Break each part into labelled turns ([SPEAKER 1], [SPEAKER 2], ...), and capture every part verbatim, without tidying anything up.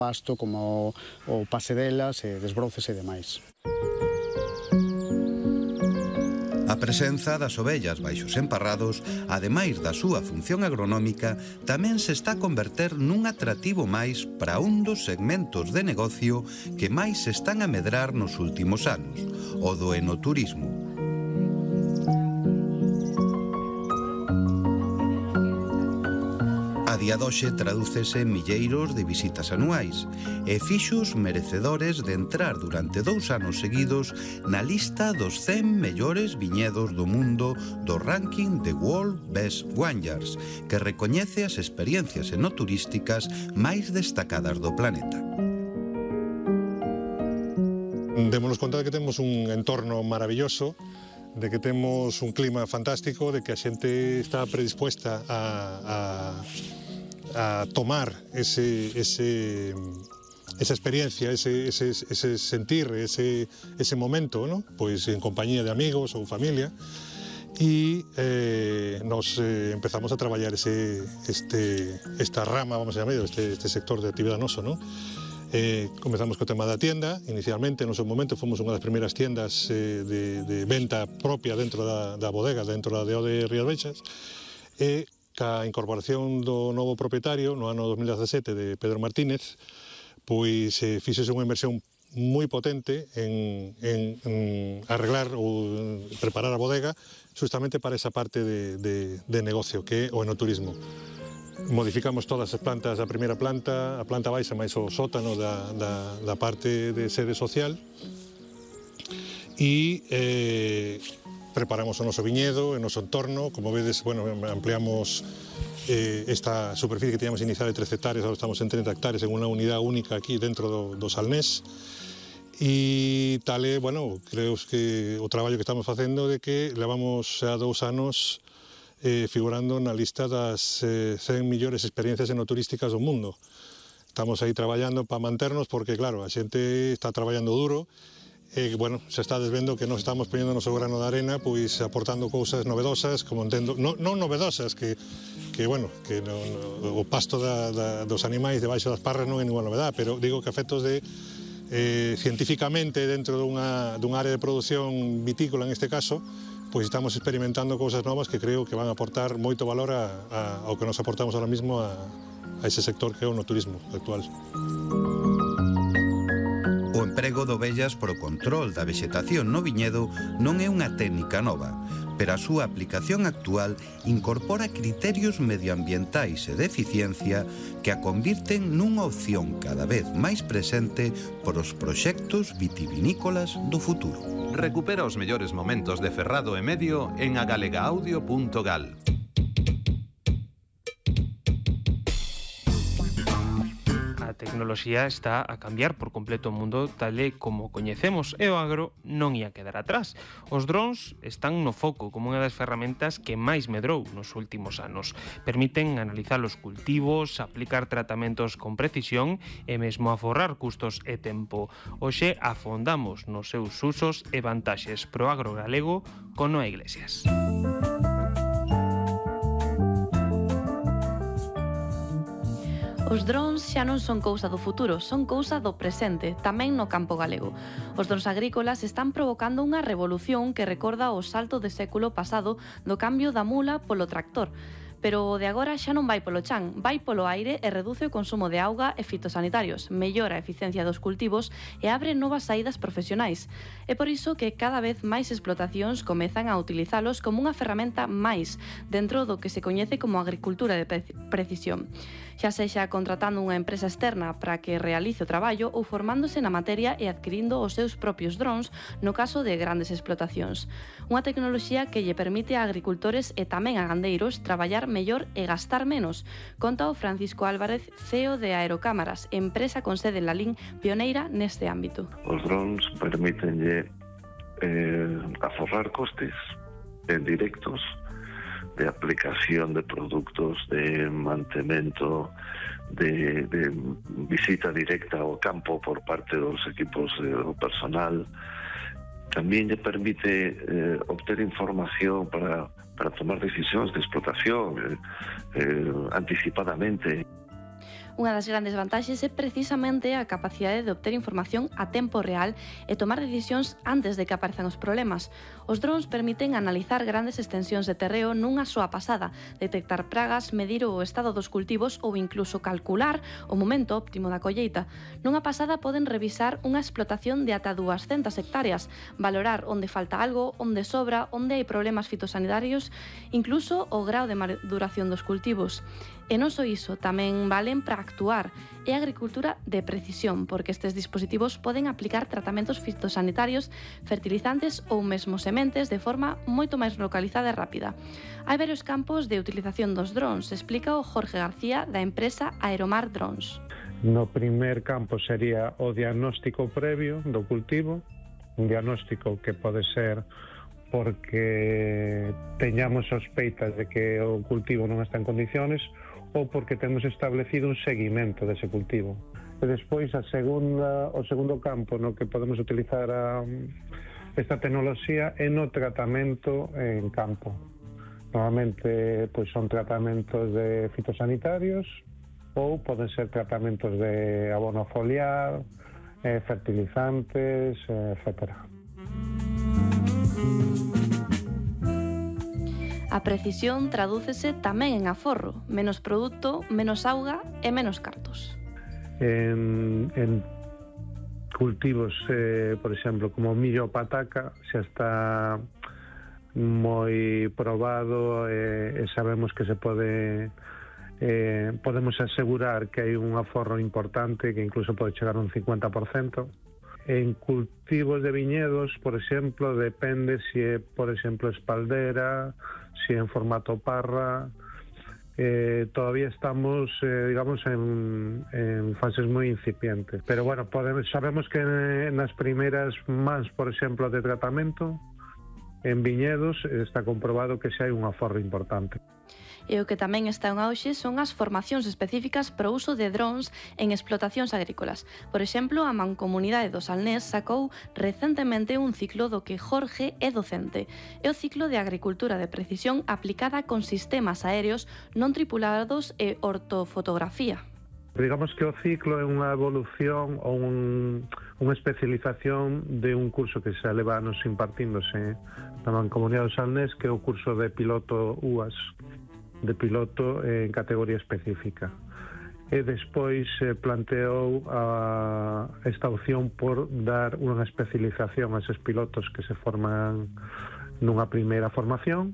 [SPEAKER 1] pasto como o pase delas, e desbroces e demais.
[SPEAKER 2] A presenza das ovellas baixos emparrados, ademais da súa función agronómica, tamén se está a converter nun atractivo máis para un dos segmentos de negocio que máis se están a medrar nos últimos anos, o do enoturismo. A día doxe tradúcese en milleiros de visitas anuais e fixos merecedores de entrar durante dous anos seguidos na lista dos cen mellores viñedos do mundo do ranking de World Best Vineyards, que recoñece as experiencias enoturísticas máis destacadas do planeta.
[SPEAKER 3] Démonos conta de que temos un entorno maravilloso, de que temos un clima fantástico, de que a xente está predispuesta a, a, a tomar ese, ese, esa experiencia, ese, ese, ese sentir, ese, ese momento, ¿no? Pois en compañía de amigos ou familia, e eh, nos eh, empezamos a traballar ese, este, esta rama, vamos a llamar, este, este sector de actividade noso, ¿no? Eh, comezamos co tema da tienda. Inicialmente, no seu momento, fomos unha das primeiras tiendas eh, de, de venta propia dentro da, da bodega, dentro da D O de Rías Baixas, e ca incorporación do novo propietario no ano dos mil dezasete de Pedro Martínez, pois eh, fixese unha inversión moi potente en, en, en arreglar ou preparar a bodega justamente para esa parte de, de, de negocio que é o enoturismo. Modificamos todas as plantas da primeira planta, a planta baixa máis o sótano da, da, da parte de sede social, e eh, preparamos o noso viñedo, o noso entorno. Como vedes, bueno, ampliamos eh, esta superficie que teníamos inicial de trece hectáreas, agora estamos en treinta hectáreas en unha unidade única aquí dentro do, do Salnés. E tal é, bueno, creo que o traballo que estamos facendo de que levamos xa dous anos Eh, figurando na lista das eh, cen millores experiencias enoturísticas do mundo. Estamos aí traballando para manternos porque, claro, a xente está traballando duro e, bueno, se está desvendo que nos estamos poñendo o noso grano de arena, pois aportando cousas novedosas, como entendo, non, non novedosas, que, que bueno, que no, no, o pasto da, da, dos animais debaixo das parras non é ninguna novedade, pero digo que a efectos de eh, científicamente dentro dunha, dunha área de produción vitícola, en este caso, pois estamos experimentando cousas novas que creo que van a aportar moito valor a, a, ao que nos aportamos ahora mismo a, a ese sector que é o noturismo actual.
[SPEAKER 2] O emprego de ovellas para o control da vexetación no viñedo non é unha técnica nova, pero a súa aplicación actual incorpora criterios medioambientais e de eficiencia que a convirten nunha opción cada vez máis presente por os proxectos vitivinícolas do futuro.
[SPEAKER 4] Recupera os mellores momentos de Ferrado e Medio en agalegaudio punto gal.
[SPEAKER 5] A tecnoloxía está a cambiar por completo o mundo tal e como coñecemos e o agro non ia quedar atrás. Os drons están no foco como unha das ferramentas que máis medrou nos últimos anos. Permiten analizar os cultivos, aplicar tratamentos con precisión e mesmo aforrar custos e tempo. Hoxe afondamos nos seus usos e vantaxes pro agro galego con Noa Iglesias.
[SPEAKER 6] Os drons xa non son cousa do futuro, son cousa do presente, tamén no campo galego. Os drons agrícolas están provocando unha revolución que recorda o salto de século pasado do cambio da mula polo tractor. Pero o de agora xa non vai polo chan, vai polo aire e reduce o consumo de auga e fitosanitarios, mellora a eficiencia dos cultivos e abre novas saídas profesionais. É por iso que cada vez máis explotacións comezan a utilizalos como unha ferramenta máis dentro do que se coñece como agricultura de precisión. Xa sexa contratando unha empresa externa para que realice o traballo ou formándose na materia e adquirindo os seus propios drons no caso de grandes explotacións. Unha tecnoloxía que lle permite a agricultores e tamén a gandeiros traballar mellor e gastar menos, conta o Francisco Álvarez, C E O de Aerocámaras, empresa con sede en Lalín, pioneira neste ámbito.
[SPEAKER 7] Os drones permítenlle eh, aforrar costes en directos de aplicación de produtos, de mantemento, de, de visita directa ao campo por parte dos equipos do personal. Tamén lle permite eh, obter información para, para tomar decisións de explotación eh, eh, anticipadamente.
[SPEAKER 6] Unha das grandes vantaxes é precisamente a capacidade de obter información a tempo real e tomar decisións antes de que aparezan os problemas. Os drons permiten analizar grandes extensións de terreo nunha soa pasada, detectar pragas, medir o estado dos cultivos ou incluso calcular o momento óptimo da colleita. Nunha pasada poden revisar unha explotación de ata dúascentas hectáreas, valorar onde falta algo, onde sobra, onde hai problemas fitosanitarios, incluso o grao de maduración dos cultivos. E non só iso, tamén valen para actuar. É agricultura de precisión, porque estes dispositivos poden aplicar tratamentos fitosanitarios, fertilizantes ou mesmo sementes de forma moito máis localizada e rápida. Hai varios campos de utilización dos drons, explica o Jorge García da empresa Aeromar Drones.
[SPEAKER 8] No primer campo sería o diagnóstico previo do cultivo, un diagnóstico que pode ser porque teñamos sospeitas de que o cultivo non está en condiciones ou porque temos establecido un seguimento dese cultivo. E despois a segunda, o segundo campo no que podemos utilizar a, esta tecnoloxía é no tratamento en campo. Normalmente pois son tratamentos de fitosanitarios ou poden ser tratamentos de abono foliar, eh, fertilizantes, eh, etcétera.
[SPEAKER 6] A precisión tradúcese tamén en aforro, menos produto, menos auga e menos cartos.
[SPEAKER 8] En, en cultivos, eh, por exemplo, como millo ou pataca, xa está moi probado e, e sabemos que se pode eh, podemos asegurar que hai un aforro importante que incluso pode chegar a un cincuenta por cento. En cultivos de viñedos, por exemplo, depende se é, por exemplo, espaldera, se é en formato parra. Eh, todavía estamos, eh, digamos, en, en fases moi incipientes. Pero, bueno, podemos, sabemos que nas primeiras mans, por exemplo, de tratamento, en viñedos, está comprobado que xa hai un aforro importante.
[SPEAKER 6] E o que tamén está en auxe son as formacións específicas para o uso de drons en explotacións agrícolas. Por exemplo, a Mancomunidade do Salnés sacou recentemente un ciclo do que Jorge é docente. É o ciclo de agricultura de precisión aplicada con sistemas aéreos non tripulados e ortofotografía.
[SPEAKER 8] Digamos que o ciclo é unha evolución ou un, unha especialización de un curso que xa leva anos impartíndose na Mancomunidade do Salnés, que é o curso de piloto U A S, de piloto en categoría específica. E despois se planteou a esta opción por dar unha especialización a eses pilotos que se forman nunha primeira formación,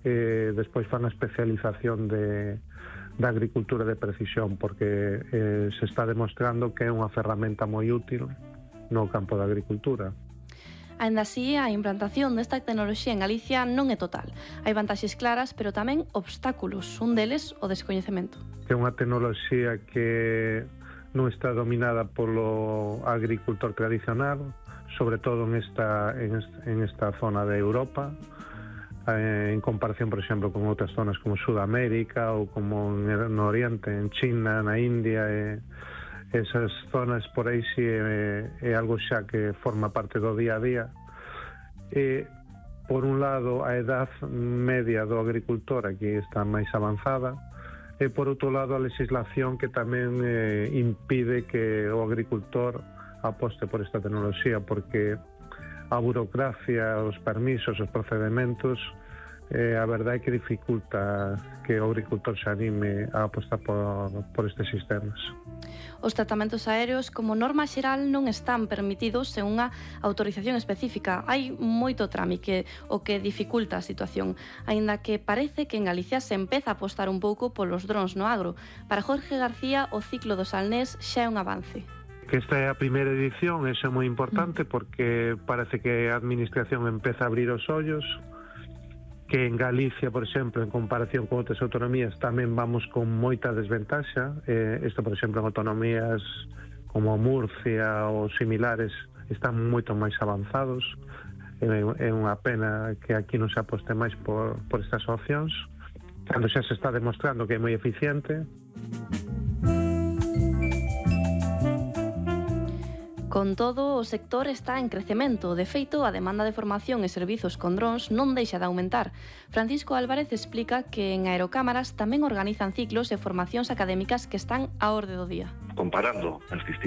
[SPEAKER 8] e despois fan a especialización de, da agricultura de precisión, porque eh, se está demostrando que é unha ferramenta moi útil no campo da agricultura.
[SPEAKER 6] Aínda así, a implantación desta tecnoloxía en Galicia non é total. Hai vantaxes claras, pero tamén obstáculos. Un deles, o descoñecemento.
[SPEAKER 8] É unha tecnoloxía que non está dominada polo agricultor tradicional, sobre todo en esta, en esta, en esta zona de Europa, eh, en comparación, por exemplo, con outras zonas como Sudamérica ou como no Oriente, en China, na India. Eh, esas zonas por aí si é, é algo xa que forma parte do día a día. E, por un lado, a edad media do agricultor aquí está máis avanzada, e por outro lado a legislación que tamén eh, impide que o agricultor aposte por esta tecnoloxía, porque a burocracia, os permisos, os procedementos, eh, a verdade é que dificulta que o agricultor se anime a apostar por, por estes sistemas.
[SPEAKER 6] Os tratamentos aéreos, como norma xeral, non están permitidos sen unha autorización específica. Hai moito trámite, o que dificulta a situación, aínda que parece que en Galicia se empeza a apostar un pouco polos drons no agro. Para Jorge García, o ciclo do Salnés xa é un avance.
[SPEAKER 8] Que esta é a primeira edición, eso é moi importante, porque parece que a administración empeza a abrir os ollos, que en Galicia, por exemplo, en comparación con outras autonomías, tamén vamos con moita desventaxa. Eh, isto, por exemplo, en autonomías como Murcia ou similares están moito máis avanzados. É, é unha pena que aquí non se aposte máis por, por estas opcións, cando xa se está demostrando que é moi eficiente.
[SPEAKER 6] Con todo, o sector está en crecemento. De feito, a demanda de formación e servizos con drons non deixa de aumentar. Francisco Álvarez explica que en Aerocámaras tamén organizan ciclos e formacións académicas que están á orde do día.
[SPEAKER 7] Comparando as distintas